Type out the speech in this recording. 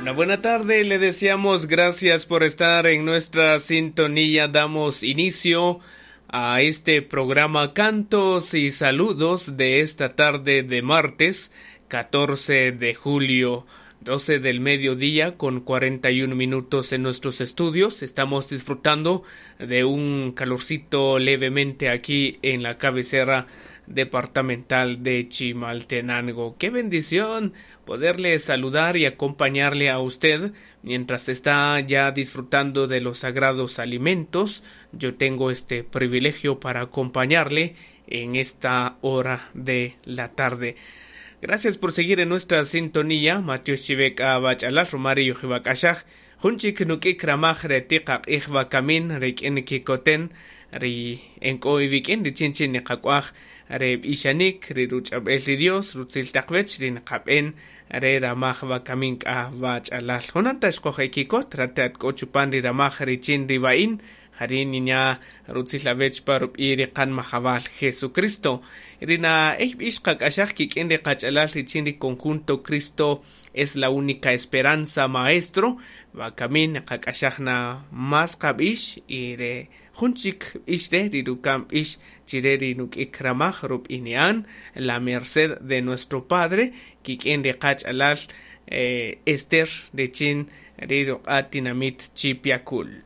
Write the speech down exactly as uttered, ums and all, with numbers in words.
Una buena tarde, le deseamos gracias por estar en nuestra sintonía. Damos inicio a este programa Cantos y Saludos de esta tarde de martes catorce de julio, doce del mediodía con cuarenta y un minutos en nuestros estudios. Estamos disfrutando de un calorcito levemente aquí en la cabecera departamental de Chimaltenango. ¡Qué bendición poderle saludar y acompañarle a usted mientras está ya disfrutando de los sagrados alimentos! Yo tengo este privilegio para acompañarle en esta hora de la tarde. Gracias por seguir en nuestra sintonía. Mateo Shivek Abachalal Romario Jibakashaj Junchik Nukik Ramaj Retiqaq Ijba Kamin Rikin Kikoten Ri Enko Ivikin Richinchin Niqakwaj Re Ishanik Ri Ruchabel ri Dios Rutzil Taqwech Ri Nqaben Re Ramaj Bakamin Ka Bachalal Jonantash Kojekikot Ratat Kochupan Ri Ramaj Richin Ribain Harin niña Rutzil Avech Parup Iri Kan Majabal Jesucristo Rina Ixqak Ashaj Kik'in Ri Qach'alal Richin Ri Conjunto Cristo es la única esperanza maestro Bakamin Qak'ashajna más Qabish y re Junchik Ishre Rirukam Ish Chireri Nuk'ik Ramaj Rup Inean la merced de nuestro Padre Kik'in Ri Qach'alal eh, Esther Richin Riruq'a Tinamit Chipiacul.